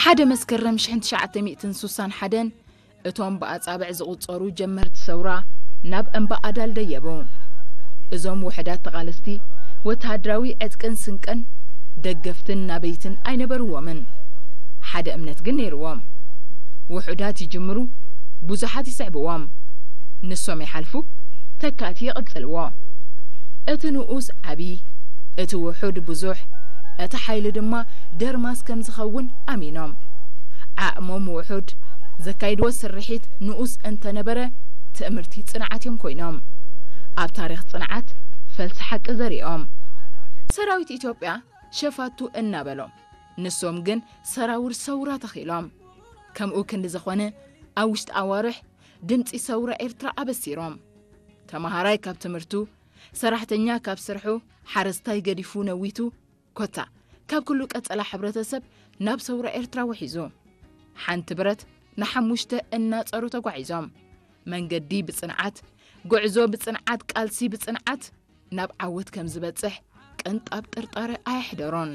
ሓደ መስከረም ሽሕን ትሽዓተ ሚእትን ስሳን ሓደን እቶም ብኣጻብዕ ዝቑጸሩ ጀመርቲ ሰውራ ናብ እምባ ኣዳል ደየቡ። እዞም ውሕዳት ተቓለስቲ ወተሃደራዊ ዕጥቅን ስንቅን ደገፍትን ናበይትን ኣይነበርዎምን። ሓደ እምነት ግን ነይርዎም። ውሑዳት ይጅምሩ፣ ብዙሓት ይስዕብዎም። ንሶም ይሓልፉ፣ ተካእቲ ይቕጽልዎ። እቲ ንኡስ ዓቢ፣ እቲ ውሑድ ብዙሕ፣ እቲ ሓይሊ ድማ ደርማስ ከም ዝኸውን ኣሚኖም። ዓቕሞም ውሑድ፣ ዘካይድዎ ስርሒት ንኡስ እንተነበረ፣ ትእምርቲ ጽንዓት እዮም ኮይኖም። ኣብ ታሪኽ ጽንዓት ፈልሲ ሓቂ ዘሪኦም። ሰራዊት ኢትዮጵያ ሸፋቱ እናበሎም፣ ንሶም ግን ሰራውር ሰውራ ተኺሎም። ከምኡ ክንዲ ዝኾነ፣ ኣብ ውሽጢ ኣዋርሕ ድምጺ ሰውራ ኤርትራ ኣበሲሮም። ተመሃራይ ካብ ትምህርቱ፣ ሰራሕተኛ ካብ ስርሑ፣ ሓረስታይ ገዲፉ ነዊቱ፣ ኮታ ካብ ኩሉ ቀጸላ ሕብረተሰብ ናብ ሰውራ ኤርትራ ውሒዙ። ሓንቲ ብረት ንሓሙሽተ እናጸሩ ተጓዒዞም። መንገዲ ብጽንዓት፣ ጉዕዞ ብጽንዓት፣ ቃልሲ ብጽንዓት ናብ ዓወት ከም ዝበጽሕ ቅንጣብ ጥርጣረ ኣየሕደሮን።